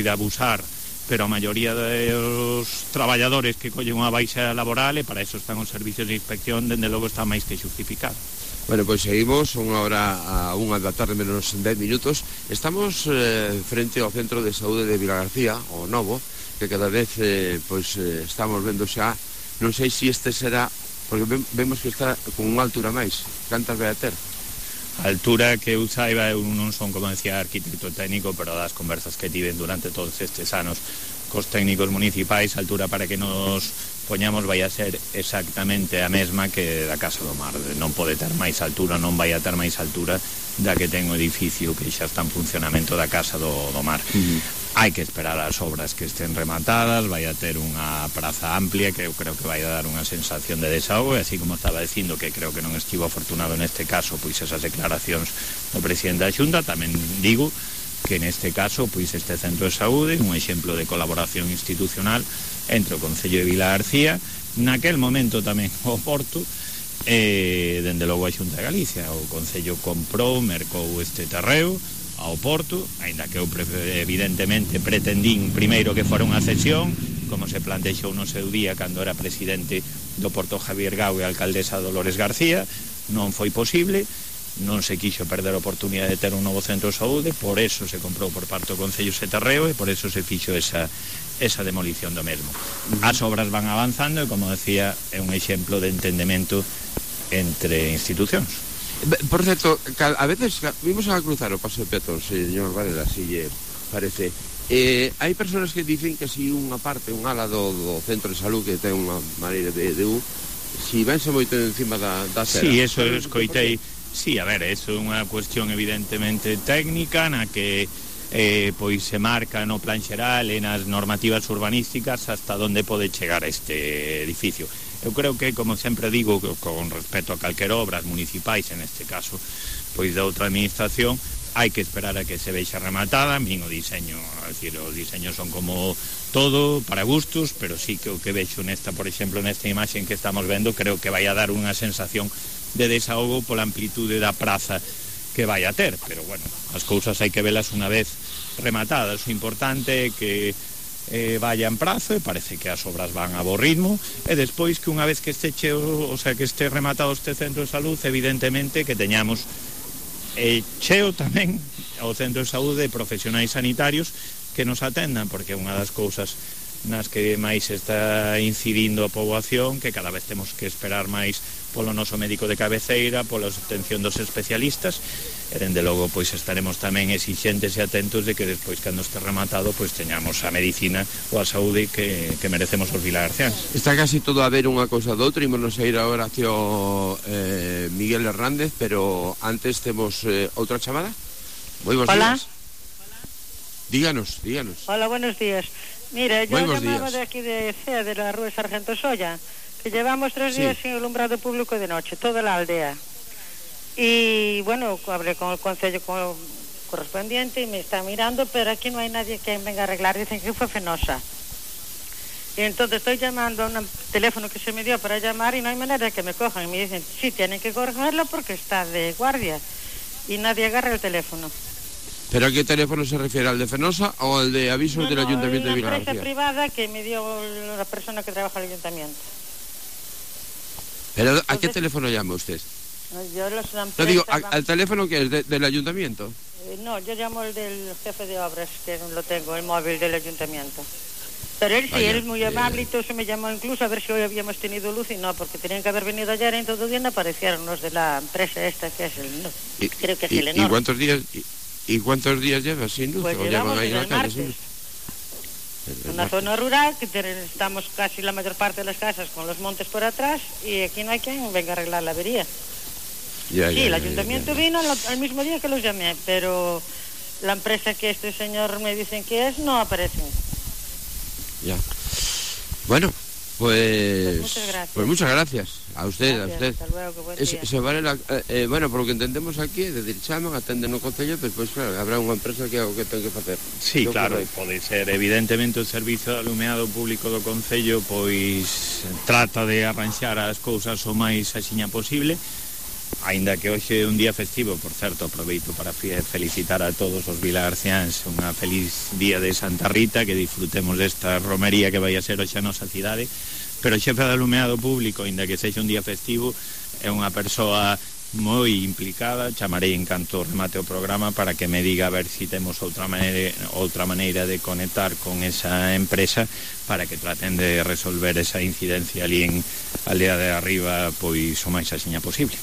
pode abusar, pero a maioría dos traballadores que collen unha baixa laboral, e para eso están os servicios de inspección, dende logo está máis que justificado. Bueno, pois seguimos, unha hora a 1 da tarde menos 10 minutos. Estamos frente ao Centro de Saúde de Vilagarcía, o novo, que cada vez estamos vendo xa, non sei se este será, porque vemos que está con unha altura máis. Cantas vai a ter? A altura que eu saiba, eu non son, como decía, arquitecto técnico, pero das conversas que tiven durante todos estes anos cos técnicos municipais, a altura para que nos poñamos vai a ser exactamente a mesma que da Casa do Mar. Non pode ter máis altura, non vai a ter máis altura da que ten o edificio que xa está en funcionamento da Casa do Mar. Hai que esperar as obras que estén rematadas, vai a ter unha praza amplia que eu creo que vai a dar unha sensación de desahogo, e así como estaba dicindo que creo que non estivo afortunado neste caso pois esas declaracións do presidente da Xunta, tamén digo que neste caso pois este centro de saúde un exemplo de colaboración institucional entre o Concello de Vilagarcía, naquel momento tamén o Porto, dende logo a Xunta de Galicia. O Concello comprou, mercou este terreo ao Porto, aínda que eu evidentemente pretendín primeiro que fora unha cesión, como se plantexou no seu día cando era presidente do Porto Javier Gau e alcaldesa Dolores García. Non foi posible, non se quixo perder a oportunidade de ter un novo centro de saúde, por eso se comprou por parte do Concello ese terreo e por eso se fixo esa demolición do mesmo. As obras van avanzando e, como decía, é un exemplo de entendemento entre institucións. Por certo, a veces vimos a cruzar o paso de peatón, señor Varela, si lle parece. Hai persoas que dicen que si unha parte, un ala do centro de salud que ten unha maneira de si vense moito encima da cera. Sí, eso escoitei. Sí, a ver, eso é unha cuestión evidentemente técnica na que pois se marca no plan xeral e nas normativas urbanísticas hasta onde pode chegar este edificio. Eu creo que, como sempre digo, con respecto a calquera obras municipais, en este caso, pois da outra administración, hai que esperar a que se vexa rematada. Min o diseño, é dicir, os diseños son como todo, para gustos, pero sí que o que vexo nesta, por exemplo, nesta imaxe que estamos vendo, creo que vai a dar unha sensación de desahogo pola amplitude da praza que vai a ter, pero bueno, as cousas hai que velas unha vez rematadas. O importante é que vaya en prazo, e parece que as obras van a bo ritmo, e despois que unha vez que este cheo, o sea, que este rematado este centro de salud, evidentemente que teñamos cheo tamén ao centro de saúde de profesionais sanitarios que nos atendan, porque unha das cousas nas que máis está incidindo a poboación, que cada vez temos que esperar máis polo noso médico de cabeceira, pola atención dos especialistas, e dende logo pois estaremos tamén exixentes e atentos de que despois, cando este rematado, pois teñamos a medicina ou a saúde que merecemos os vilagarciáns. Está casi todo a ver unha cousa do outra, ímonos a ir agora hacia Miguel Hernández, pero antes temos outra chamada. Moi bons días. Díganos. Hola, buenos días. Mira, yo llamaba de aquí de CEA, de la Rúa Sargento Solla, que llevamos 3 días sin alumbrado público de noche, toda la aldea. Y bueno, hablé con el concello correspondiente y me está mirando, pero aquí no hay nadie que venga a arreglar, dicen que fue Fenosa. Y entonces estoy llamando a un teléfono que se me dio para llamar y no hay manera de que me cojan. Y me dicen, sí, tienen que cogerlo porque está de guardia. Y nadie agarra el teléfono. ¿Pero a qué teléfono se refiere? ¿Al de Fenosa o al de avisos del Ayuntamiento de Vilagarcía? La empresa privada que me dio la persona que trabaja en el Ayuntamiento. ¿Pero entonces, a qué teléfono llama usted? Yo la empresa... No digo, ¿al teléfono que es del Ayuntamiento? No, yo llamo el del jefe de obras, que lo tengo, el móvil del Ayuntamiento. Pero él sí, él es muy amable y todo se me llamó incluso a ver si hoy habíamos tenido luz y no, porque tenían que haber venido ayer y en todo el día no aparecieron los de la empresa esta que es el... creo que es el enorme. ¿Y cuántos días lleva sin luz? Pues llevamos desde el martes. Una zona rural que estamos casi la mayor parte de las casas con los montes por atrás y aquí no hay quien venga a arreglar la avería. El ayuntamiento vino al mismo día que los llamé, pero la empresa que este señor me dicen que es no aparece. Ya. Bueno, pues muchas gracias a usted. Hasta luego, buen día. Bueno, por lo que entendemos aquí, é dicir, chaman, atenden no concello, pero pois claro, habrá unha empresa que ten que facer. Sí, claro, pode ser. Evidentemente o servizo de alumeado público do concello pois trata de arranxar as cousas o máis axiña posible, Aínda que hoxe é un día festivo, por certo, aproveito para felicitar a todos os vilagarciáns unha feliz día de Santa Rita, que disfrutemos desta romería que vai a ser hoxe a nosa cidade, pero o xefe de alumeado público, aínda que sexa un día festivo, é unha persoa moi implicada. Chamarei en canto remate o programa para que me diga a ver si temos outra maneira de conectar con esa empresa para que traten de resolver esa incidencia ali en Aldea de Arriba pois o máis axiña posible.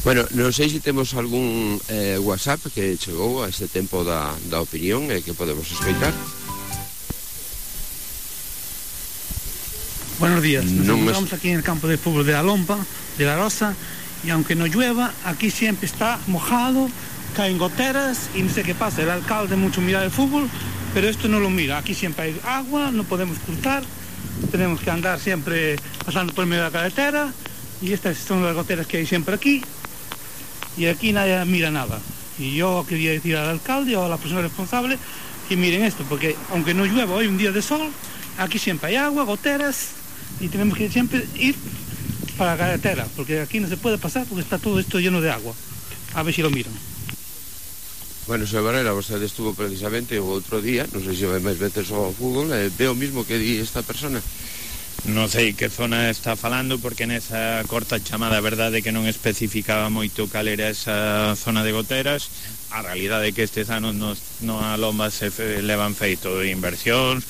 Bueno, non sei se temos algún WhatsApp que chegou a este tempo da opinión que podemos escoitar. Buenos días, nos encontramos aquí en el campo de fútbol de la Lompa, de la Rosa, y aunque no llueva, aquí siempre está mojado, caen goteras y no sé qué pasa. El alcalde mucho mira el fútbol, pero esto no lo mira. Aquí siempre hay agua, no podemos cruzar, tenemos que andar siempre pasando por medio de la carretera, y estas son las goteras que hay siempre aquí, y aquí nadie mira nada. Y yo quería decir al alcalde o a la persona responsable que miren esto, porque aunque no llueva hoy, un día de sol, aquí siempre hay agua, goteras, y tenemos que siempre ir para la carretera, porque aquí no se puede pasar porque está todo esto lleno de agua. A ver si lo miran. Bueno, señor Varela, vostede estuvo precisamente o outro día, non sei se vai máis veces ao fútbol, ve o mismo que di esta persona. Non sei que zona está falando, porque nesa corta chamada a verdade que non especificaba moito cal era esa zona de goteras. A realidade é que estes anos no a Lomba se levan feito inversións,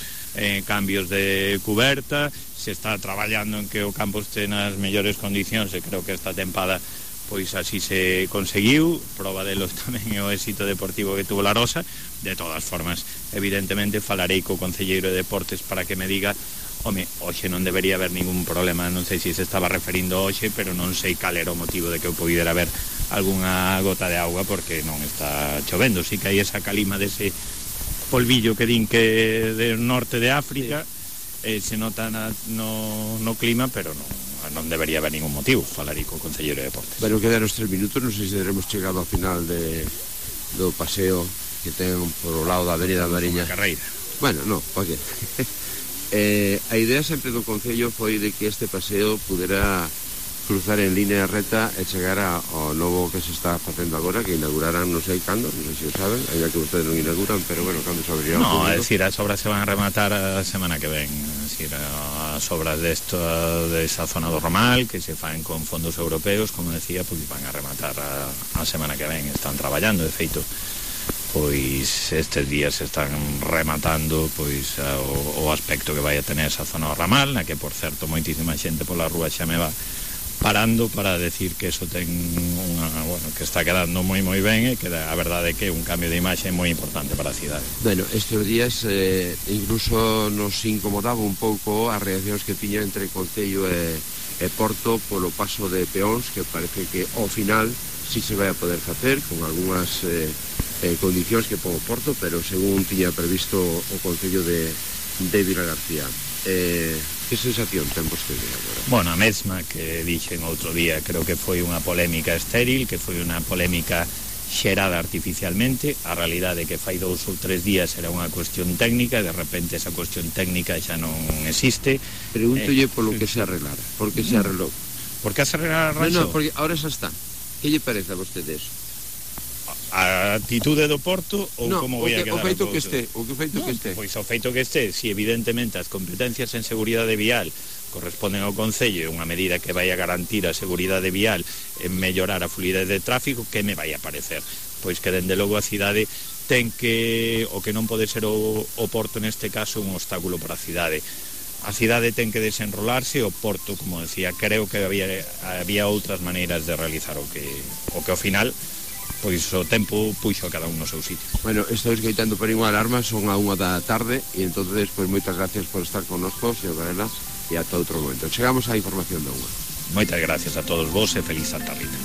cambios de cuberta, se está traballando en que o campo este nas mellores condicións, e creo que esta tempada pois así se conseguiu. Proba delos tamén é o éxito deportivo que tuvo la Rosa. De todas formas, evidentemente falarei co concelleiro de Deportes para que me diga, home, hoxe non debería haber ningún problema. Non sei se se estaba referindo hoxe, pero non sei cal era o motivo de que poidera haber algunha gota de auga, porque non está chovendo. Si que hai esa calima dese polvillo que din que del norte de África, se nota no clima, pero non debería haber ningún motivo. Falarei co concelleiro de Deportes. Bueno, quedan os 3 minutos, non sei se teremos chegado ao final do paseo que ten por o lado da Avenida Mariña. Carreira. Bueno, non, oye. A idea sempre do Concello foi de que este paseo pudera cruzar en línea recta e chegar ao novo que se está facendo agora, que inaugurarán non sei cando, non sei se o saben, ainda que ustedes non inauguran, pero bueno, cando se abrirá o público. É dicir, as obras se van a rematar a semana que ven. É dicir, as obras desa zona do Romal, que se fan con fondos europeos, como decía, pois van a rematar a semana que ven. Están traballando, de feito, pois estes días se están rematando pois o aspecto que vai a tener esa zona do Ramal, na que, por certo, moitísima xente pola rúa xa me va parando para decir que eso ten que está quedando moi ben, e que a verdade é que é un cambio de imaxe moi importante para a cidade. Bueno, estes días incluso nos incomodaba un pouco as reaccións que tiña entre Concello e Porto polo paso de peóns, que parece que ao final sí se vai a poder facer con algunhas condicións que pon o Porto, pero según tiña previsto o Concello de Vilagarcía. Que sensación ten vostede agora? Bueno, a mesma que dixen outro día, creo que foi unha polémica estéril, que foi unha polémica xerada artificialmente. A realidade é que fai 2 ou 3 días era unha cuestión técnica, e de repente esa cuestión técnica xa non existe. Pregúntolle polo que se arreglara, por que se arreglou. Por que se arreglara? No, porque ahora xa está. Que lle parece a vostede eso? A atitude do Porto ou no, como vai a quedar o feito que este, que este. Pois o feito que este, si evidentemente as competencias en seguridade vial corresponden ao Concello, unha medida que vai a garantir a seguridade vial e mellorar a fluidez de tráfico, que me vai a parecer? Pois que dende logo a cidade ten que, o que non pode ser o Porto neste caso, un obstáculo para a cidade. A cidade ten que desenrolarse, o Porto, como decía, creo que había outras maneiras de realizar o que ao final pois o tempo puxo a cada un no seu sitio. Bueno, estou escoitando por unha alarma, son a 1 da tarde, e entonces, pois moitas gracias por estar connosco, señor Varela, e ata outro momento. Chegamos á información da 1. Moitas gracias a todos vos e feliz Santa Rita.